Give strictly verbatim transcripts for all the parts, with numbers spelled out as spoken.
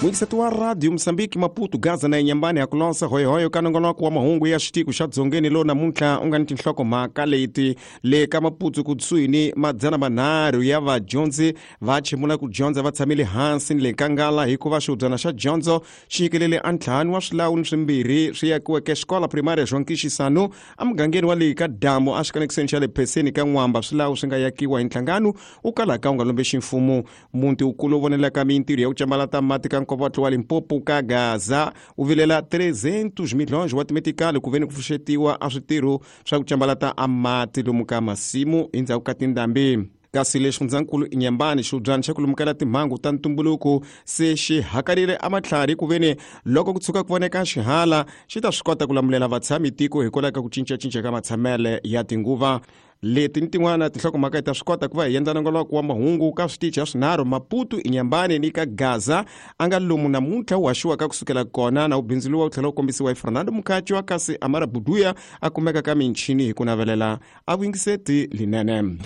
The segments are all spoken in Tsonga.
Muyingiseti wa Radio Mozambique Maputo Gaza na Inhambane ya ku lonsa hoyohoyo ka nongonoko wa mahungu ya xitiko xa dzongeni lowu namuntlha u nga ni tinhlokomhaka leti le ka Maputo kusuhi ni madzana manharhu ya vadyondzi va chimula ku dyondza va tshamile hansi ni le nkangala hikuva xihubyana xa dyondzo xi nyikelele a ntlhanu wa swilawuni swimbirhi swi yakiweke xikola primary João Quixisano emugangeni wa le ka damu exikanekiseni xa le pheseni ka n'wamba swilawu swi nga yakiwa hi nhlangano wu kalaka wu nga lombe ximfumo muti wukulu wu vonelaka mintirho ya ku cambalata mati ka nkovotlo wa Limpopo ka Gaza wu vilela trezentos milhões wa timetikali ku veni ku pfuxetiwa a switirho swa ku cambalata a mati lomu ka masimu endzhaku ka tindhambi kasi le xifundzankulu Inhambane xihubyana xa ku lumukela timhangu ta ntumbuluko se xi hakarile a matlhari ku veni loko ku tshuka ku voneka xihala xi ta swi kota ku lamulela vatshami tiko hikwalaho ka ku cincacinca ka matshamele ya tinguva leti ni tin'wana tinhlokomhaka hi ta swi kota ku va hi endla nongonoko wa mahungu ka switichi ya swinharhu Maputo Inhambane ni ka Gaza a nga lomu namuntlha wu haxiwaka kusukela kona na wu bindzuriwa wu tlhela wu kombisiwa hi Fernando Mukhatshwa kasi Amara Buduya a kumeka ka michini hi ku navelela a vuyingiseti linene.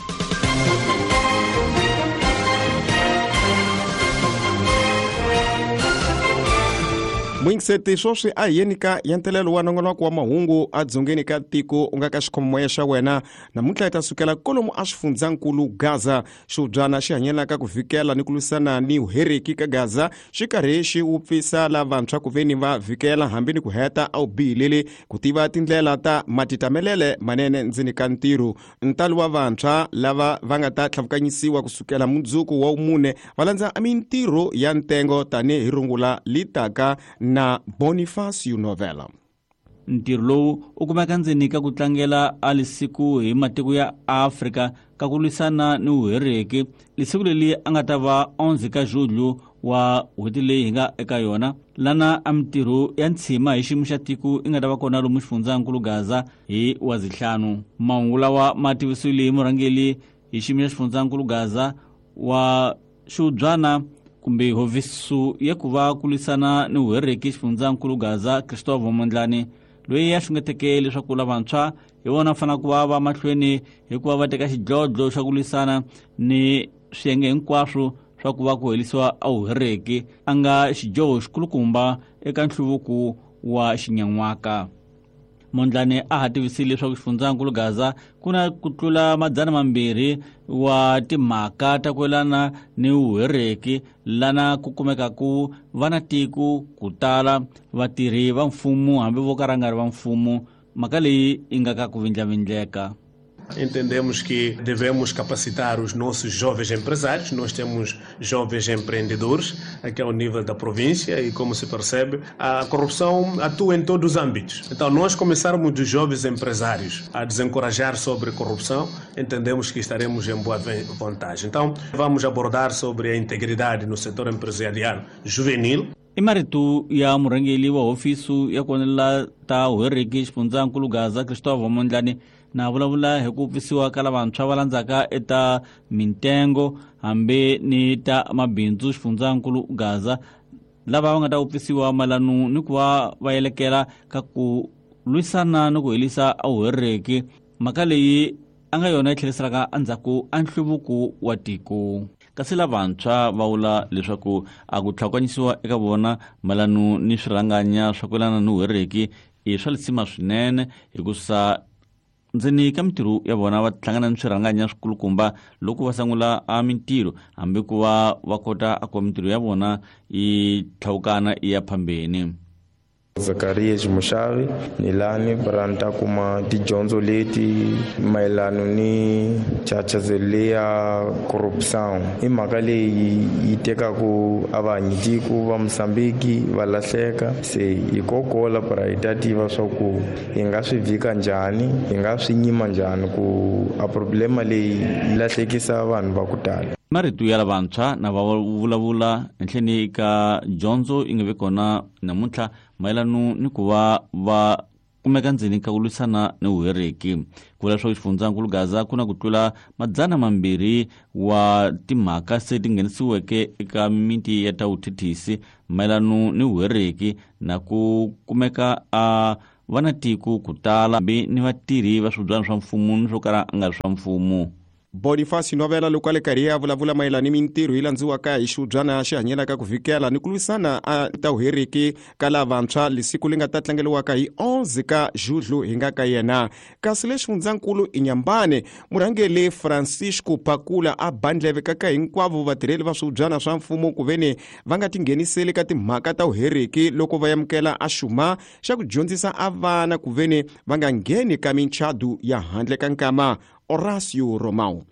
Muyingiseti swoswi a hi yeni ka yentelelo wa nongonoko wa mahungu a dzongeni ka tiko u nga ka xikhomomoya xa wena namuntlha hi ta sukela kolomu a xifundzankulu Gaza xihubyana xi hanyelaka ku vhikela ni ku lwisana ni vuheriki ka Gaza xi karhi xi wupfisa lavantshwa ku veni va vhikela hambi ni ku heta a wu bihileli ku tiva tindlela ta matitamelele manene ndzeni ka ntirho ntalo wa vantshwa lava va nga ta tlhavukanyisiwa kusukela mundzuku wa mune va landza mintirho ya ntengo tanihi rungula litaka na Bonifacio Novela. Ntirho lowu u kumeka ndzeni ka ku tlangela a lisiku hi matiko ya Afrika ka ku lwisana ni vuheriki lisiku leri a nga ta va onze ka julho wa n'hweti leyi hi nga eka yona lana a mintirho ya ntshima hi xiyimo xa tiko i nga ta va kona lomu xifundzankulu Gaza hi wa zihlanu mahungu lawa ma tivisiwile hi murhangeri hi xiyimo xa xifundzankulu Gaza wa xihubyana kumbe hovisu ya ku va ku lwisana ni vuheriki xifundzankulu Gaza Christophe Mondlane loyi a xungeteke leswaku lavantshwa hi vona fanele ku va va mahlweni hikuva va teka xidlodlo xa ku lwisana ni swiyenge hinkwaswo swa ku va ku herisiwa a vuheriki a nga xidyoho xikulukumba eka nhluvuko wa xinyan'waka. Mondlane a ha tivisile leswaku xifundzankulu Gaza ku na ku tlula madzana mambirhi wa timhaka ta ku yelana ni vuheriki lana ku kumekaku va na tiko ku tala vatirhi va mfumo hambi vo ka ra nga ri va mfumo mhaka leyi yi nga ka ku vindlavindleka. Entendemos que devemos capacitar os nossos jovens empresários. Nós temos jovens empreendedores aqui ao nível da província e, como se percebe, a corrupção atua em todos os âmbitos. Então, nós começarmos dos jovens empresários a desencorajar sobre corrupção, entendemos que estaremos em boa vantagem. Então, vamos abordar sobre a integridade no setor empresarial juvenil. I marito ya murhangeri wa hofisi ya ku onela ta vuheriki xifundzankulu Gaza Christophe Mondlane na vulavula hi ku pfisiwa ka lavantshwa va landzaka eta mintengo hambi ni ta mabindzu xifundzankulu Gaza lava va nga ta wupfisiwa mayelana ni ku va va yelekela ka ku lwisana ni ku herisa a vuheriki mhaka leyi a nga yona yi tlheriselaka endzhaku a nhluvuko wa tiko. Kasi lavantshwa va vula leswaku a ku tlhakanyisiwa eka vona mayelana ni swirhanganya swa ku yelana ni vuheriki i swa lisima swinene hikusa ndzeni ka mintirho ya vona va hlangana ni swirhanganya swikulukumba loko va sungula a mintirho hambi ku va va kota a ku mintirho ya vona yi tlhawukana yi ya phambeni. Zacarias Mushavi ni lani para kuma tidyondzo leti mayelana ni chachazeleya corrupção i mhaka leyi yi tekaku a vanhu tiko va Mozambique va lahleka se hi kokola para hi ta tiva swa ku hi nga swi vhika njhani hi nga swi nyima njhani ku a problema leyi yi lahlekisa vanhu va ku tala. Marito ya lavantshwa na va vulavula enhleni ka dyondzo yi nga vi kona namuntlha mayelana ni ku va va kumeka ndzeni ka ku lwisana ni vuheriki ku vula leswaku xifundzankulu Gaza ku na ku tlula madzana mambirhi wa timhaka se ti nghenisiweke eka mimiti ya ta vuthethisi mayelana ni vuheriki na ku kumeka a va na tiko ku tala hambi ni vatirhi va swibyana swa mfumo ni swo kala a nga ri swa mfumo. Boniface Novela loko a le karhi a vulavula mayelana ni mintirho yi landziwaka hi xiubyana xi hanyelaka ku vhikela ni ku lwisana a ta uheriki ka lavantshwa lesiku li nga ta tlangeliwaka hi onze ka Julho hi nga ka yena. Kasi le xifundzankulu Inhambane, murhangeri Francisco Pakula a bandleve ka ka hinkwavo vatirheli va swiubyana swa mfumo ku veni va nga tingheniseli ka timhaka ta uheriki loko va amukela a xuma xa ku dyondzisa a vana ku veni va nga ngheni ka minchadu ya handle ka nkama. Horacio Romão.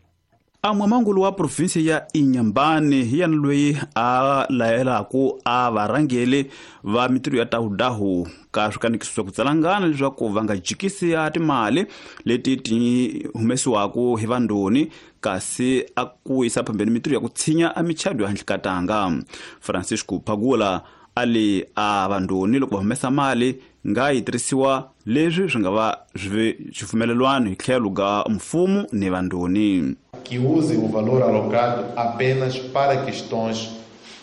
A mwamangulu wa provinsi ya Inhambane hi yena loyi a layelaku a varhangeli va mintirho ya tawudahu ka swikanekiso swa ku tsalangana leswaku va nga jikisi ya timali leti ti humesiwaku hi vandoni, kasi a ku yisa phambeni mintirho ya ku tshinya a michado ya handle ka tanga. Francisco Pagula a li a vandoni loko va humesa mali nga yi tirhisiwa leswi swi nga va swi xipfumelelwano hi tlhelo ga mfumo ni vandoni. Que usem o valor alocado apenas para questões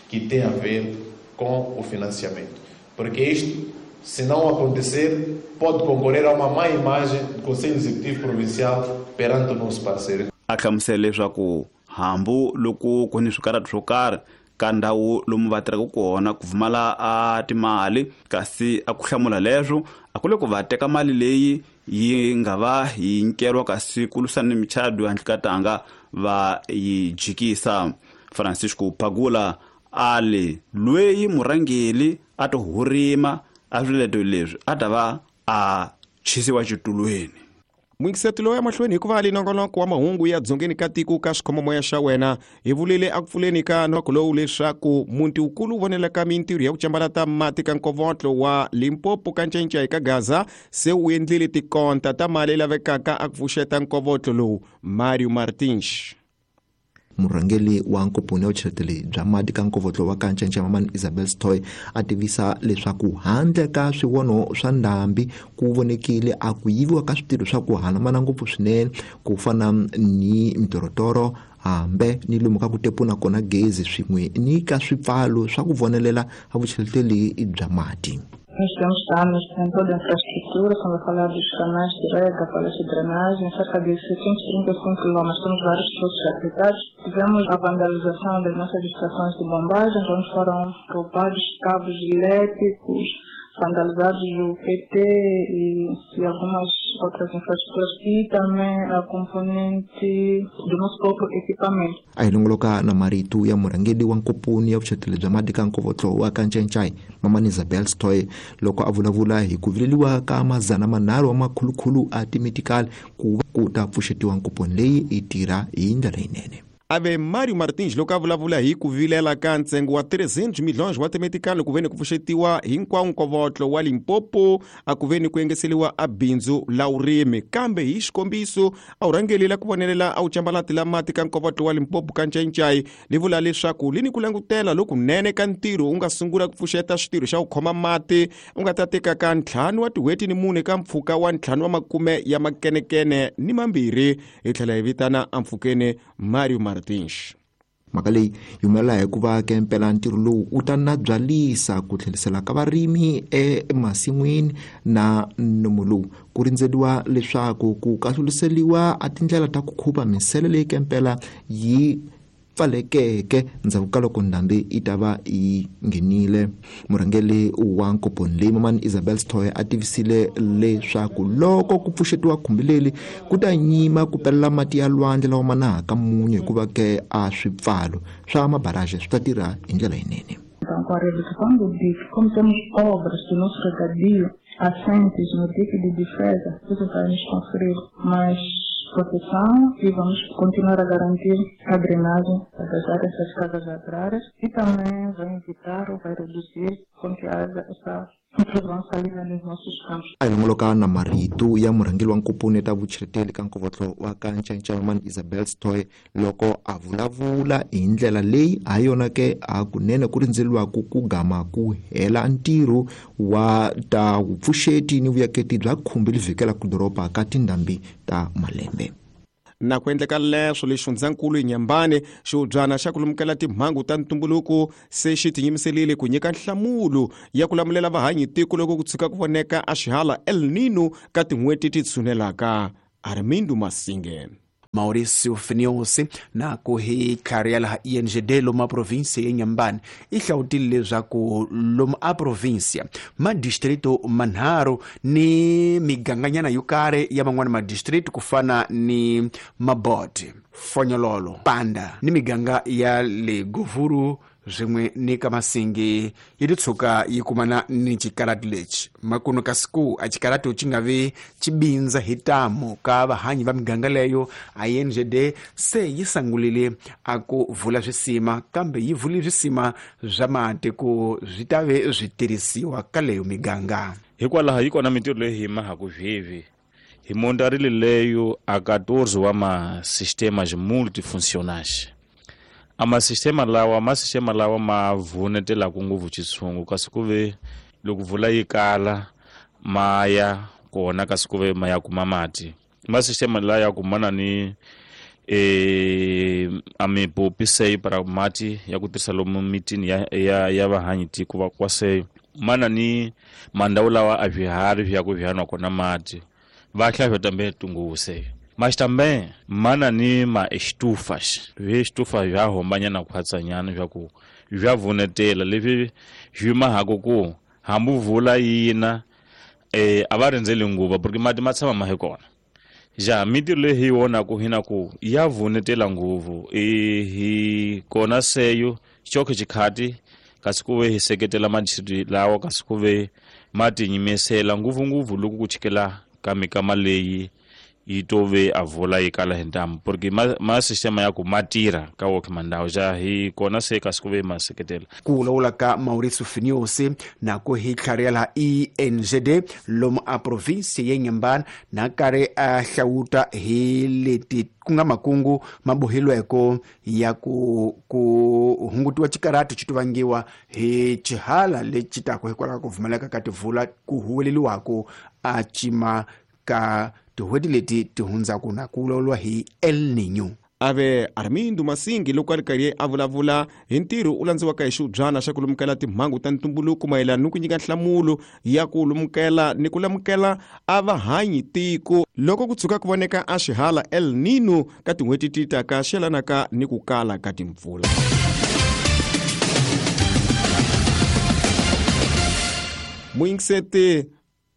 que têm a ver com o financiamento. Porque isto, se não acontecer, pode concorrer a uma má imagem do Conselho Executivo Provincial perante o nosso parceiro. A hlamusela leswaku hambu loko ku ni swikarhato swo karhi ka ndhawu lomu va tirhaka kona ku pfumala a timali, kasi a ku hlamula leswo a ku le ku va teka mali leyi yi nga va yi nyikeriwa kasi ku lwisana ni michado handle ka tanga va yi jikisa. Francisco Pagula a li loyi murhangeri a to hurima a swileto leswi a ta va a chisiwa xitulweni. Mwingiseto lowu ya mahlweni hikuva ali nongonoko wa mahungu ya dzongeni ka tiko ka xikhomomoya xa wena hi vulile a ku pfuleni ka noko lowu leswaku muti wukulu wu vonelaka mintirho ya ku cambalata mati ka nkovotlo wa Limpopo ka Ncencei ka Gaza se wu endlile tikonta ta mali lavekaka a ku pfuxeta nkovotlo lowu. Mario Martins. Murhangeri wa nkomponi ya vucheleteli bya mati ka nkovotlo wa ka Ncencei Mamani Isabel Stoy a tivisa leswaku handle ka swivono swa ndhambi ku vonekile a ku yiviwa ka switirho swa ku hanamana ngopfu swinene ku fana ni mitorotoro hambe ni lomu ka ku tepuna kona gezi swin'we ni ka swipfalo swa ku vonelela a vucheleteli bya mati. Nós temos danos em toda a infraestrutura, estamos a falar dos canais de rega, falhas de drenagem, cerca de setecentos e trinta e cinco quilômetros, temos vários poços aplicados. Tivemos a vandalização das nossas estações de bombagem, onde foram roubados cabos elétricos, vandalizados o P T e, e algumas outras infraestruturas e também a componente do nosso próprio equipamento. A hi longoloka na marito ya murhangeri wa nkomponi ya vucheleteli bya mati ka nkovotlo wa ka Ncencei Mamani Isabel Stoy loko a vulavula hi ku vileliwa ka mazana manharhu wa makhulukhulu a timetikali ku ku ta pfuxetiwa nkomponi leyi yi tirha hi ndlela leyinene. Ave Mario Martins loko a vulavula hi ku vilela ka ntsengo wa trezentos milhões wa timetikali ku veni ku pfuxetiwa hinkwawo nkovotlo wa Limpopo a ku veni ku engeseliwa a bindzu la vurimi. Kambe hi xikombiso a wu rhangelela ku vonelela a wu cambalati la mati ka nkovotlo wa Limpopo ka Ncencei li vula leswaku li ni ku langutela lokunene ka ntirho wu nga sungula ku pfuxeta switirho xa ku khoma mati u nga ta teka ka ntlhanu wa tin'hweti ni mune ka mpfhuka wa ntlhanu wa makume ya makenekene ni mambirhi. Hi tlhela hi vitana ampfhukeni Mario Martins. Mhaka leyi yi humelela hikuva ke mpela ntirho lowu wu ta nabyalisa ku tlherisela ka varimi emasin'wini na nomo lowu ku rindzeriwa leswaku ku kahluliseliwa a tindlela ta ku khupa minsele leyi ke mpela yi pfalekeke ndzhaku ka loko ndhambi yi ta va yi nghenile. Murhangeri wa nkomponi leyi Mamani Isabel Stoy a tivisile leswaku loko ku pfuxetiwa khumbi leri ku ta nyima ku pelela mati ya lwandle lawa ma nahaka munyu hikuva ke a swipfalo swa mabaraje swi ta tirha hi ndlela yinene. Então, com a redução do dique, como temos obras do nosso regadio assentes no dique de defesa, isso vai nos conferir mais proteção e vamos continuar a garantir a drenagem das áreas das casas agrárias e também vai evitar ou vai reduzir com que haja essa intrusão salina nos nossos campos. A hi longoloka na marito ya murhangeri wa nkomponi ta vucheleteli ka nkovotlo wa ka Ncencei Mamani Isabel Stoy loko a vulavula hi ndlela leyi ha yona ke a kunene ku rindzeriwaku ku gama ku hela ntirho wa ta vupfuxeti ni vuyaketi bya khumbi li vhikelaka doroba ka tindhambi ta malembe. Na ku endleka leswo le xifundzankulu Inhambane xiubyana xa ku lumukela timhangu ta ntumbuluko se xi tinyimiserile ku nyika nhlamulo ya ku lamulela vahanyi tiko loko ku tshuka ku voneka a xihala El Nino ka tin'hweti ti tshunelaka. Armindo Masinge. Mauricio Finiosi na ku hi tlhari ya laha I N G D lomu a provinsia ya Inhambane i hlawutile leswaku lomu a provinsia madistrito manharhu ni miganganyana yo karhi ya man'wana madistrito ku fana ni Mabote, Fonyololo, Panda ni miganga ya le Govuru swin'we ni ka Masingi yi ti tshuka yi kumana ni xikarati lexi makuno ka siku a xikarati xi nga vi xi bindza hi tamu ka vahanyi va miganga leyo. I N G D se yi sangulile a ku vula swisima kambe yi vule swisima swa mati ku swi ta ve swi tirhisiwa ka leyo miganga. Hikwalaho yi kona mintirho leyi hi mahaku sweswi hi montarile leyo a quatorze wa ma-sistemas multifuncionais. A masistema lawa masistema lawa ma vunetelaku ngopfu xitshungu kasi ku ve loko vula yi kala ma ya kona kasi ku ve ma ya kuma mati. Masistema lawa ya kumana ni eh a mipopi sei para mati ya ku tirhisa lomu mitini ya ya, ya vahanyi tiko va kwa sei mana ni mandhawu lawa a swiharhi swi ya ku swi nwa kona mati va hlaya tambe tunguvu sei. Mas também mana ni ma estufas estufa já rombanyana khwatsanyana swa ku swa vunetela leswi swi mahako ku hambi vula yina eh a va rindzeli nguva porque mati ma tshama ma hi kona. Ja mintirho leyi hi vonaku hina ku ya vunetela nguvu e hi kona seyo xokhe xikhati kasi ku ve hi seketela madistrito lawa kasi ku ve ma tinyimisela ngopfungopfu loko ku chikela ka mikama leyi yi to ve a vula yi kala hi ntamu porque ma, ma sistema ya ku ma tirha ka wokhe mandhawu ja hi kona se kasi ku ve ma seketela. Ku vulavula ka Mauricio Finiosi na ku hi tlhari ya laha I N G D lomu a provinsia ya Inhambane na karhi a hlawuta hi leti ku nga makungu ma boheliweke ya ku ku hungutiwa xikarati xi vangiwa hi xihala lexi taka hikwalaho ka ku pfumaleka ka tivula ku huweleliwaka a cima ka tin'hweti leti ti hundzaka na ku vulavuriwa hi El Niño. Ave Armindo Masingi loko a ri karhi a vulavula hi ntirho u landziwaka hi xiubyana xa ku lumukela timhangu ta ntumbuluko mayelana ni ku nyika nhlamulo ya ku lumukela ni ku lamukela a vahanyi tiko loko ku tshuka ku voneka a xihala El Niño ka tin'hweti ti taka xi yelanaka ni ku kala ka timpfula. Muyingiseti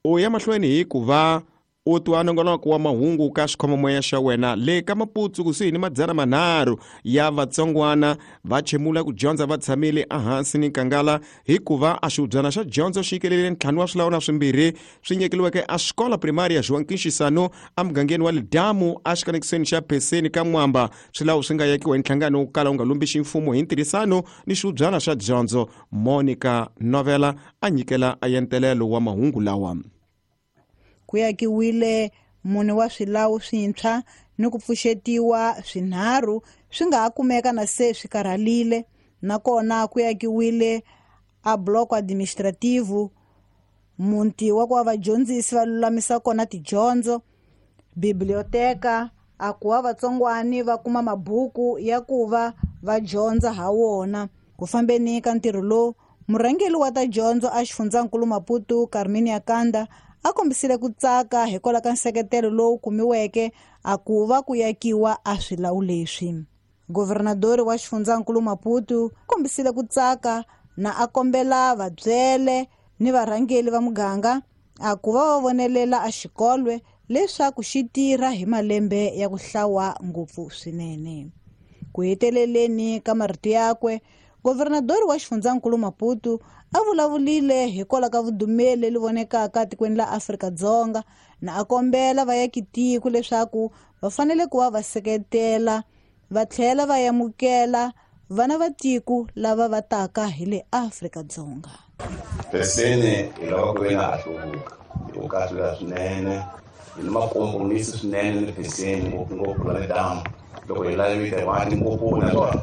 u ya mahlweni hi ku va u twa nongonoko wa mahungu ka xikhomomoya xa wena le ka Maputsu kusuhi ni madzana manharhu ya vatsongwana va chemula ku dyondza va tshamile ehansi ni nkangala hikuva a xiubyana xa dyondzo xi nyikelele ntlhanu wa swilawu na swimbirhi swi nyikeliweke a xikola primary ya João Quinxisano emugangeni wa Lidamu exikanekisweni xa Pheseni ka Mwamba. Swilawu swi nga yakiwa hi nhlangano wo kala wu nga lombisi mfumo hi ntirhisano ni xiubyana xa dyondzo. Monica Novela a nyikela a yentelelo wa mahungu lawa. Ku yakiwile mune wa swilawu swintshwa ni ku pfuxetiwa swinharhu swi nga ha kumeka na se swi karhalile nakona ku yakiwile a bloco administrativo muti wa ku va vadyondzisi va lulamisa kona tidyondzo, biblioteka a ku va vatsongwani va kuma mabuku ya ku va va dyondza ha wona. Ku fambeni ka ntirho lowu murhangeri wa ta dyondzo a xifundzankulu Maputo Carmen Kanda a kombisile ku tsaka hikwalaho ka nseketelo lowu kumiweke a ku va ku yakiwa a swilawu leswi. Governadori wa xifundzankulu Maputo kombisile ku tsaka na a kombela vabyele ni varhangeri va muganga a ku va va vonelela a xikolwe leswaku xi tirha hi malembe ya ku hlawa ngopfu swinene. Ku heteleleni ka marito yakwe governadori wa xifundzankulu Maputo a vulavulile hikwalaho ka vudumeli leri vonekaka tikweni la Afrika-Dzonga na a kombela vayakitiko leswaku va fanele ku va va seketela va tlhela va amukela vana va tiko lava va taka hi le Afrika-Dzonga. Pheseni hi lava ku ve na ha hluvuka hi ku kahlula swinene hi ni makompromisi swinene ni Pheseni ngopfungopfu la Lidamu loko hi lavile mati ngopfu naswona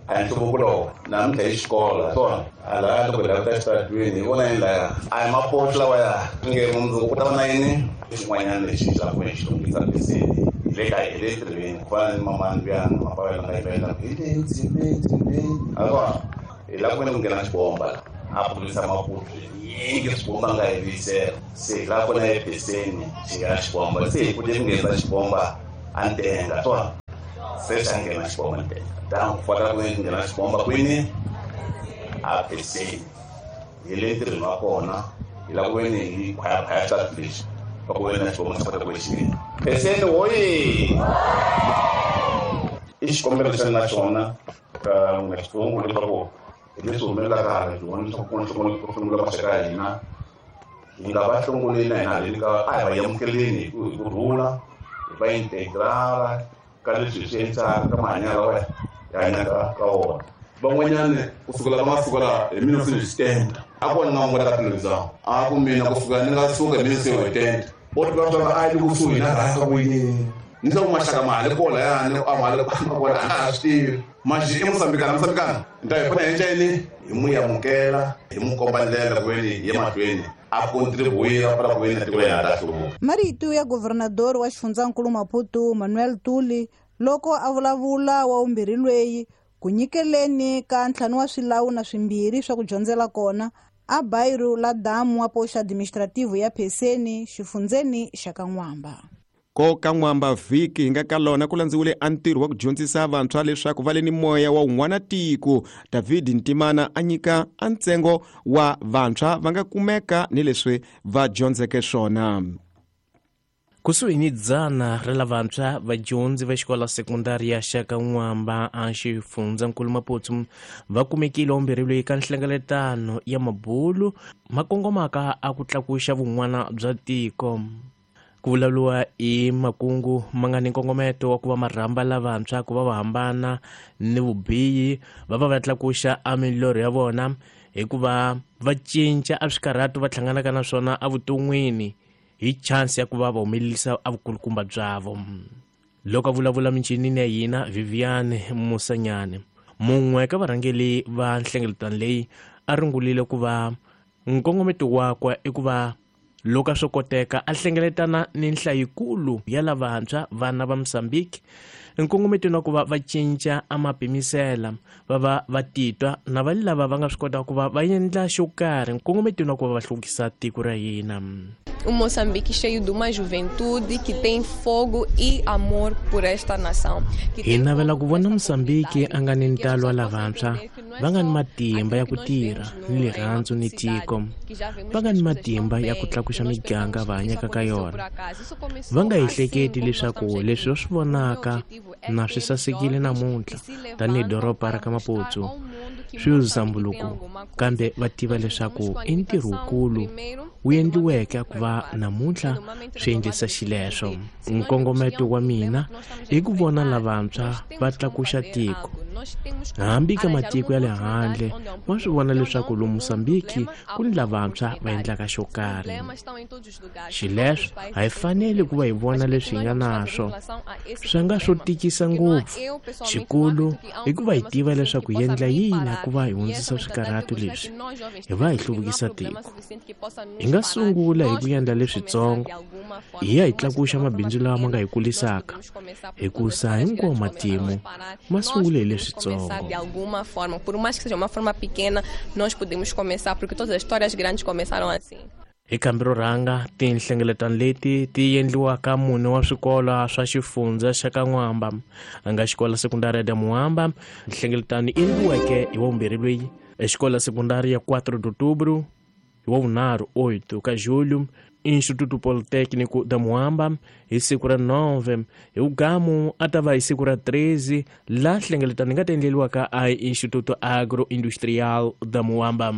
a hi nhluvuko lowu namuntlha hi xikolo swona a laya loko hi languta exitaratweni hi vona yini laya a hi mapoto lawaya nge mundzuku ku ta va na yini xin'wanyana lexi xi lava ku xi lunghisa Pheseni hi le ka hi le tirhweni ku fana ni mamani luyani mapavela nga yimela hi le dzimeni dzimeni a kona hi lava ku veni ku nghena xibomba a pfurisa Maputo yingi swibomba nga hi vuyisela se hi lava ku na ePheseni xi nghena xibomba se hi kute ku nghenisa xibomba A ntenga swona se xa nghena xibomba ntenga ta ku fanele ku nghena xibomba kwini a Pheseni hi le ntirhweni wa kona hi lava ku ve ni hi khwayakhwaya xitatu lexi va ku ve na xibomba xa kota ku xi nghena Pheseni hoye i xikombelo lexi ni na xona ka n'wina xitsongo leswaku hi leswi humelelaka hala hi vona leswaku ku na ku hlongula maxaka ya hina hi nga va hlongoleni na hina haleni ka a hi va amukeleni hi ku hi ku rhula hi va integrala ka leswi hi swi endlaka ka mahanyelo lawa hi hanyaka ka wona van'wanyana kusukela ka masiku lawa hi mina se ni swi tenda a ku vona nga n'wana ka tilozana a ku mina kusuka ni nga suka hi mina se hi tenda o tiva swa a yi kusuhi na rhasa ku yini ni swa ku maxaka ma hale kola yani a ma hale kona a ha swi tivi maxi i Mosambikana Mosambikana ni ta hi pfuna hi nceni hi n'wi amukela hi n'wi komba ndlela ku ve ni hi ya mahlweni a contribuir para ku ve ni tiko ya ta hluvuka. Marito ya governador wa xifundzankulu Maputo Manuel Tuli loko a vulavula wa vumbirhi lweyi ku nyikeleni ka ntlhanu wa swilawu na swimbirhi swa ku dyondzela kona a bairro la damu wa poxa administrativo ya Pheseni xifundzeni xa Kan'wamba. Ko Kan'wamba vhiki hi nga ka lona ku landziwile a ntirho wa ku dyondzisa vantshwa leswaku va le ni moya wa un'wana tiko. David Ntimana a nyika a ntsengo wa vantshwa va nga kumeka ni leswi va dyondzeke swona. Kusuhi ni dzana ra lavantshwa vadyondzi va xikolo sekondari ya xa Kan'wamba a xifundzankulu Maputo va kumekile vumbirhi loyi ka nhlengeletano ya mabulu ma kongomaka a ku tlakuxa vun'wana bya tiko. Ku vulavuriwa hi makungu ma nga ni nkongometo wa ku va marhamba lavantshwa ku va va hambana ni vubihi va va va tlakuxa a milorho ya vona hikuva va cinca a swikarhatu va hlanganaka na swona evuton'wini hi chance ya ku va va humelerisa a vukulukumba bya vo. Loko a vulavula minchinini ya hina Viviane Musanyane mun'we ka varhangeri va nhlengeletano leyi a rungulile ku va nkongometo wakwe i ku va loko swo koteka a hlengeletana ni nhlayikulu ya lavantshwa vana va Mozambique nkongometo na ku va va cinca a mapimisela va va va titwa na va lava va nga swi kota ku va va endla xo karhi nkongometo na ku va va hluvukisa tiko ra hina. Um Moçambique cheio de uma juventude que tem fogo e amor por esta nação. Hi navela ku vona Mozambique a nga ni ntalo wa lavantshwa va nga ni matimba ya ku tirha ni rirhandzu ni tiko va nga ni matimba ya ku tlakuxa miganga va hanyaka ka yona va nga ehleketi leswaku leswi va swi vonaka na swi sasekile namuntlha tanihi doroba ra ka Maputo swi ndzambuluko kambe va tiva leswaku i ntirho wukulu wu endliweke ku va namuntlha swi endlisa xileswo. Nkongometo wa mina i ku vona lavantshwa va tlakuxa tiko hambi ka matiko ya le handle va swi vona leswaku lomu Mozambique ku ni lavantshwa va endlaka xo karhi. Xileswo a hi fanele ku va hi vona leswi hi nga naswo swi nga swo tikisa ngopfu xikulu i ku va hi tiva leswaku hi endla yini ku va hi hundzisa swikarhatu leswi hi va hi hluvukisa tiko. Hi nga sungula hi ku endla leswitsongo hi ya hi tlakuxa mabindzu lawa ma nga hi kulisaka hikusa hinkwawo matimu ma sungule hi leswitsongo. De alguma forma, por mais que seja uma forma pequena, nós podemos começar, porque todas as histórias grandes começaram assim. Hi kambi ro rhanga tinhlengeletano leti ti endliwaka mune wa swikolo swa xifundza xa Kan'wamba a nga xikolo sekundari ya Muamba nhlengeletano yi endliweke hi wa vumbirhi loyi exikola sekundari ya quatro de outubro hi wa vunharhu oito ka julho Instituto Politécnico da Muamba hi siku ra nove hi ugamu a ta va hi siku ra treze laha nhlengeletano yi nga ta endleriwaka a Instituto Agroindustrial da Muamba.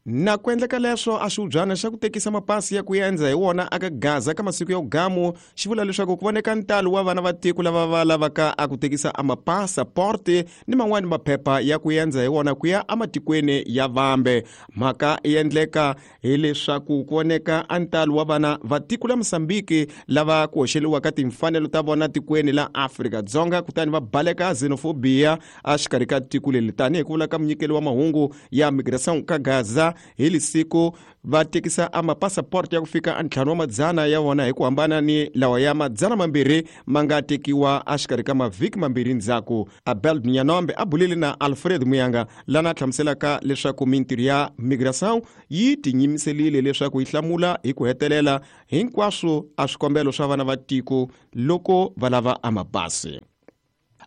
Na ku endleka leswo a xiubyana xa ku tekisa mapasi ya ku endza hi wona aka Gaza ka masiku ya ugamu xi vula leswaku ku voneka ntalo wa vana va tiko lava va lavaka a ku tekisa a mapasaporte ni man'wani maphepha ya ku endza hi wona ku ya ematikweni ya vambe. Mhaka yi endleka hileswaku ku voneka a ntalo wa vana va tiko la Mozambique lava ku hoxeliwaka timfanelo ta vona tikweni la Afrika-Dzonga kutani va baleka xenophobia exikarhi ka tiko leri tanihi ku vula ka munyikeli wa mahungu ya migration ka Gaza tala hi lisiku va tekisa a mapasaport ya ku fika a ntlhanu wa madzana ya vona hi ku hambana ni lawa ya madzana mambirhi ma nga tekiwa exikarhi ka mavhiki mambirhi ndzhaku. Abel Nyanombe a bulile na Alfred Muyanga lana hlamuselaka leswaku mintirho ya migration yi tinyimiselile leswaku yi hlamula hi ku hetelela hinkwaswo a swikombelo swa vana va tiko loko va lava a mapasi.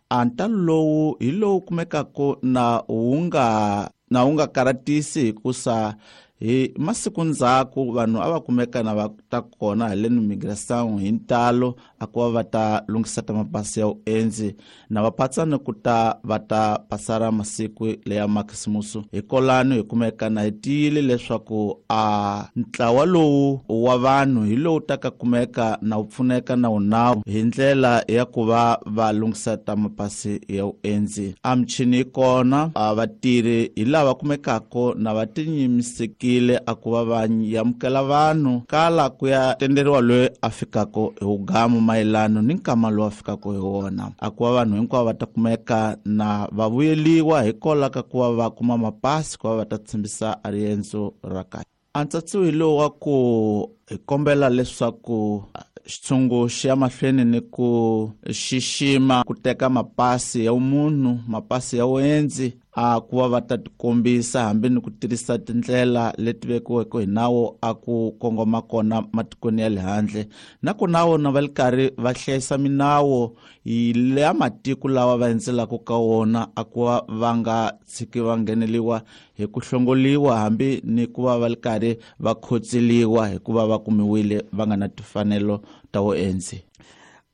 A ntalo lowu hi lowu kumekaka na wu nga na wu nga karatisi hikusa hi masiku ndzhaku vanhu a va kumeka na va ta kona haleni migration hi ntalo a ku va va ta lunghisa ta mapasi ya vuendzi na va patsana ku ta va ta pasara masiku leya makhisimusi. Hikolano hi kumeka na hi tiyile leswaku a ntlawa lowu wa vanhu hi lowu ta ka kumeka na wu pfuneka na wunawu hi ndlela ya ku va va lunghisa ta mapasi ya vuendzi. A michini yi kona, a vatirhi hi lava kumekaka na va tinyimisekile a ku va va amukela vanhu kala ku ya tenderiwa loyi a fikaka hi wugamu mayelano ni nkama lowu a fikaka hi wona. A ku va vanhu hinkwavo va ta kumeka na va vuyeliwa hikwalaho ka ku va va kuma mapasi ku va va ta tshembisa a riendzo ra kahle. A ntsatsiwi lowu wa ku hi kombela leswaku xitshungu xi ya mahlweni ni ku xixima ku teka mapasi ya munhu, mapasi ya vuendzi a ku va va ta tikombisa hambi ni ku tirhisa tindlela leti vekiweke hi nawu a ku kongoma kona matikweni ya le handle, na ku na wona va li karhi va hlayisa minawu ya matiko lawa va endzelaka ka wona a ku va va nga tshiki va ngheneliwa hi ku hlongoliwa hambi ni ku va va li karhi va khotseliwa hikuva va kumiwile va nga na timfanelo ta vuendzi.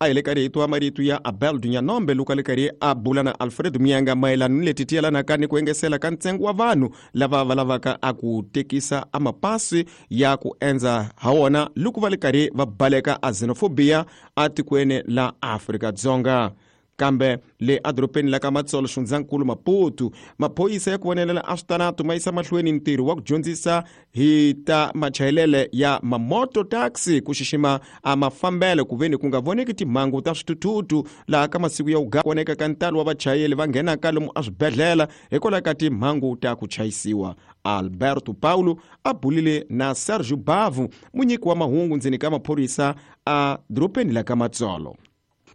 A hi le karhi hi twa marito ya Abel Nyanombe loko a le karhi a bula na Alfred Muyanga mayelana ni leti ti yelanaka ni ku engesela ka ntsengo wa vanhu lava va lavaka a ku tekisa a mapasi ya ku endza ha wona loko va le karhi va baleka a xenophobia atikweni la Afrika-Dzonga. Kambe le edorobeni la ka Matsolo xifundzankulu Maputo, maphorisa ya ku vonelela a switanatu ma yisa mahlweni ntirho wa ku dyondzisa hi ta machayelele ya mamoto taxi ku xixima a mafambelo ku veni ku nga voneki timhangu ta swithuthuthu laha ka masiku ya ku voneka ka ntalo wa vachayeli va nghenaka lomu eswibedhlele hikwalaho ka timhangu ta ku chayisiwa. Alberto Paulo a bulile na Sergio Bavu, munyiki wa mahungu ndzeni ka maphorisa a dorobeni la ka Matsolo.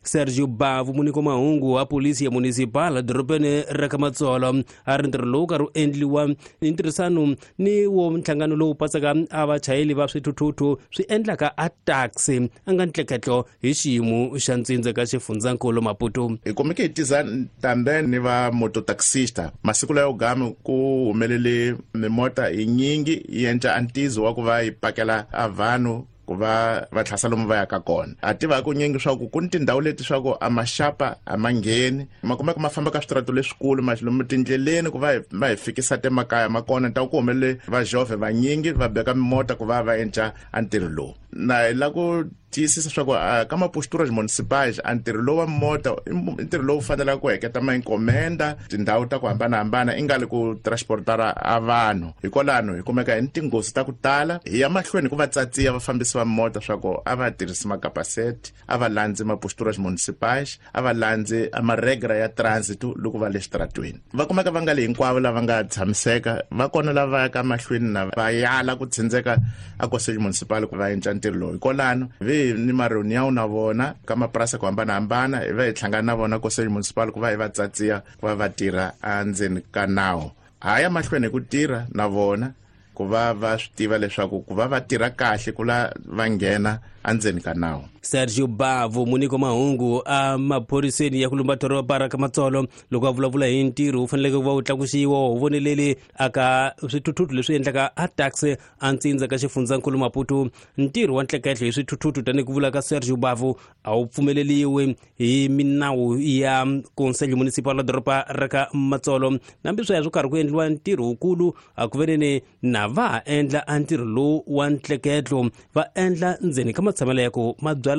Sergio Bavu, munyiki wa mahungu wa polisi ya municipal dorobeni ra ka Matsolo, a ri ntirho lowu karhi wu endliwa hi ntirhisano ni wo nhlangano lowu patsaka a vachayeli va swithuthuthu swi endlaka a taxi a nga ntleketlo hi xiyimo xa ntsindza ka xifundzankulu Maputo. Hi kumeke hi tiza tambe ni va mototaxista masiku layo gami ku humelele mimota hi nyingi yi endla antizo wa ku va yi pakela a vanhu ku va va tlhasa lomu va yaka kona. A tiva ku nyingi swa ku ku ni tindhawu leti swa ku a maxapa a ma ngheni ma kumeka ma famba ka switirato leswikulu ma lomu tindleleni ku va va hi fikisa temakaya ma kona ta ku humelele va jove vanyingi va beka mimota ku va va endla a ntirho lowu. Na hi la ku tiyisisa swa ku ka maposturas municipais a ntirho lowu wa mota i ntirho lowu fanelaka ku heketa mainkomenda tindhawu ta ku hambanahambana i nga li ku transportara a vanhu. Hikwalano hi kumeka hi ni tinghozi ta ku tala hi ya mahlweni ku va tsatsiya vafambisi va mota swa ku a va tirhisi makapaseti, a va landzi maposturas municipais, a va landzi maregra ya transit loko va le xitaratweni. Va kumeka va nga le hinkwavo lava nga tshamiseka, va kona lava yaka mahlweni na va yala ku tsindzeka a conselho municipal ku va endla ntirho lowu. Hikwalano vi ni maroniyawu na vona ka mapurasi ku hambanahambana hi va hi hlangana na vona conselho municipal ku va hi va tsatsiya ku va va tirha endzeni ka nawu. Ha ya mahlweni hi ku tirha na vona ku va va swi tiva leswaku ku va va tirha kahle ku la va nghena endzeni ka nawu. Sergio Bavu, munyiki wa mahungu a maphoriseni ya ku lumba doroba ra ka Matsolo, loko a vulavula hi ntirho wu faneleke ku va wu tlakusiwa wu voneleli aka swithuthuthu leswi endlaka a taxi a ntsindza ka xifundzankulu Maputo. Ntirho wa ntleketlo hi swithuthuthu tanihi ku vula ka Sergio Bavu a wu pfumeleliwi hi minawu ya Conselho Municipal wa doroba ra ka Matsolo. Nambi sweswo karhi ku endliwa ntirho wukulu a ku veneni na va ha endla a ntirho lowu wa ntleketlo va endla ndzeni ka matshamelo ya ku mabyala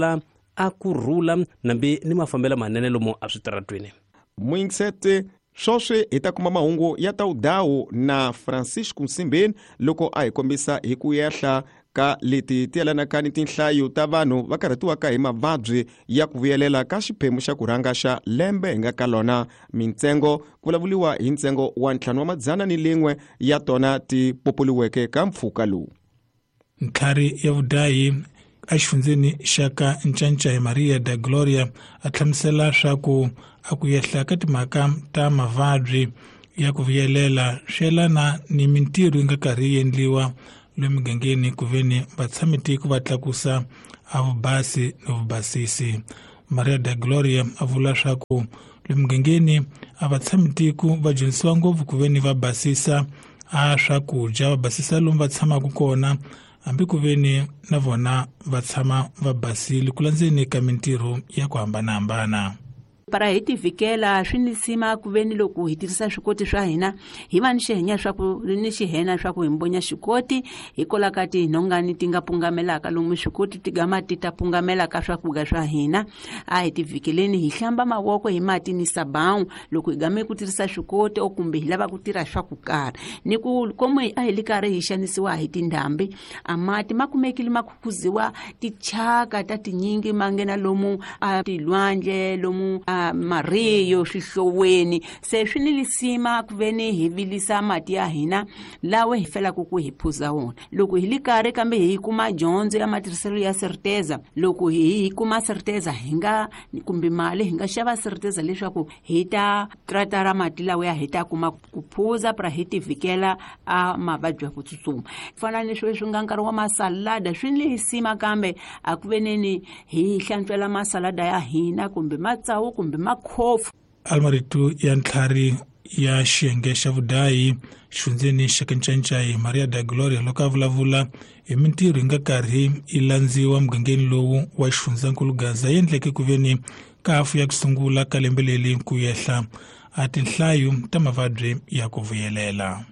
a ku rhula nambi ni mafambelo manene lomu eswitaratweni. Muyingisete swoswi hi ta kuma mahungu ya tawudawu na Francisco Nsimbeni loko a hi kombisa hi ku yehla Ka leti ti yelanaka ni tinhlayo ta vanhu va karhatiwaka hi mavabyi ya ku vuyelela ka xiphemu xa ku rhanga xa lembe hi nga ka lona. Mintsengo ku vulavuriwa hi ntsengo wa ntlhanu wa madzana ni lin'we ya tona ti populiweke ka mpfhuka lowu. Ntlhari ya vudayi exifundzeni xa ka Ncancai Maria da Gloria a hlamusela swa ku a ku yehla ka timhaka ta mavabyi ya ku vuyelela swi yelana ni mintirho yi nga karhi yi endliwa lomu migangeni ku veni vatshamitiko va tlakusa a vubasi ni vubasisi. Maria da Gloria a vula swa ku lomu migangeni a vatshamitiko va dyondzisiwa ngopfu ku veni va basisa a swakudya, va basisa lomu va tshamaka kona, hambi ku veni na vona va tshama va basile ku landzeni ka mintirho ya ku hambanahambana. Para hi tivikela swi ni sima ku veni loko hi tirhisa swikoti swa hina hi va ni xihenya swa ku ni xihena swa ku hi mbonya xikoti hikwalaho ka tinhongani ti nga pungamelaka lomu swikoti ti gama ti ta pungamelaka swakudya swa hina. A hi tivikeleni hi hlamba mavoko hi mati ni sabawu loko hi game ku tirhisa swikoti o kumbe hi lava ku tirha swa ku karhi ni ku komo a hi li karhi hi xanisiwa hi tindhambi a mati ma kumekile ma khukhuziwa tichaka ta tinyingi ma nghena lomu a tilwandle lomu a mariyo swihloweni. Se swi ni lisima ku veni hi vilisa mati ya hina lawa hi felaka ku hi phuza wona loko hi li karhi kambe hi kuma dyondzo ya matirhiselo ya certeza. Loko hi kuma certeza hi nga kumbe mali hi nga xava certeza leswaku hi ta tratara mati lawa ya hi ta kuma ku phuza pra hi tivikela a mavabyi ya ku tsutsuma. Fana ni sweswi nga nkarhi wa masalada swi ni lisima kambe a ku veneni hi hlantswela masalada ya hina kumbe matsawu kumbe makhofu. Almarito ya ntlhari ya xiyenge xa vudayi xifundzeni xa ka Ncancai Maria da Gloria loko a vulavula hi mintirho yi nga karhi yi landziwa mugangeni lowu wa xifundzankulu Gaza yi endleke ku veni ka hafu ya ku sungula ka lembe leri ku yehla a tinhlayo ta mavabyi ya ku vuyelela.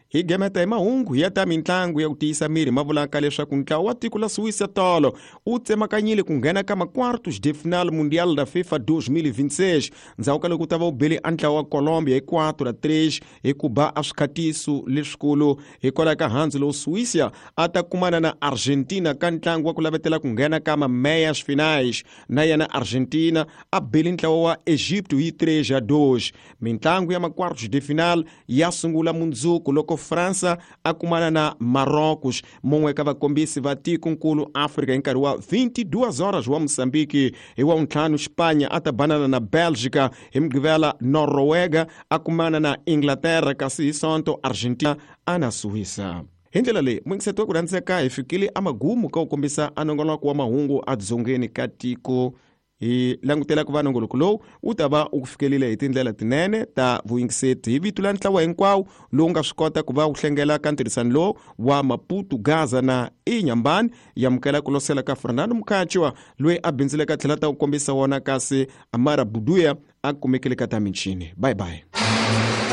Hi gemeta hi mahungu ya ta mintlangu ya ku tiyisa miri ma vulaka leswaku ntlawa wa tiko la Suíça tolo wu tsemakanyile ku nghena ka ma-quartos de final mundial da FIFA dois mil e vinte e seis ndzhaku ka loko u ta va u bele a ntlawa wa Colombia hi quatro a três hi ku ba a swikhatiso leswikulu. Hikwalaho ka handzu lowu Suíça a ta kumana na Argentina ka ntlangu wa ku lavetela ku nghena ka ma-meias finais, na yena Argentina a bele ntlawa wa Egipto hi três a dois. Mintlangu ya ma-quartos de final ya sungula mundzuku loko França a kumana na Marrocos, mun'we ka vakombisi va tikonkulu Afrika hi nkarhi wa vinte e duas horas wa Moçambique. Hi wa ntlhanu Espanha a ta banana na Bélgica, hi Mugqivela Noruega a kumana na Inglaterra, kasi hi Sonto Argentina a na Suíça. Hi ndlela leyi muyingiseti wa ku rhandzeka hi fikile amagumu ka ku kombisa a nongonoko wa mahungu edzongeni ka tiko. Hi langutela ku va nongoloko lowu wu ta va u ku fikelile hi tindlela tinene ta vuyingiseti hi vito la ntlawa hinkwawo lowu nga swi kota ku va wu hlengela ka ntirhisano lowu wa Maputo, Gaza na Inhambane. Yamukela ku losela ka Fernando Mukhachiwa loyi a bindzuleke tlhela ta ku kombisa wona, kasi Amara Buduya a kumekile ka ta michini. Bye bye.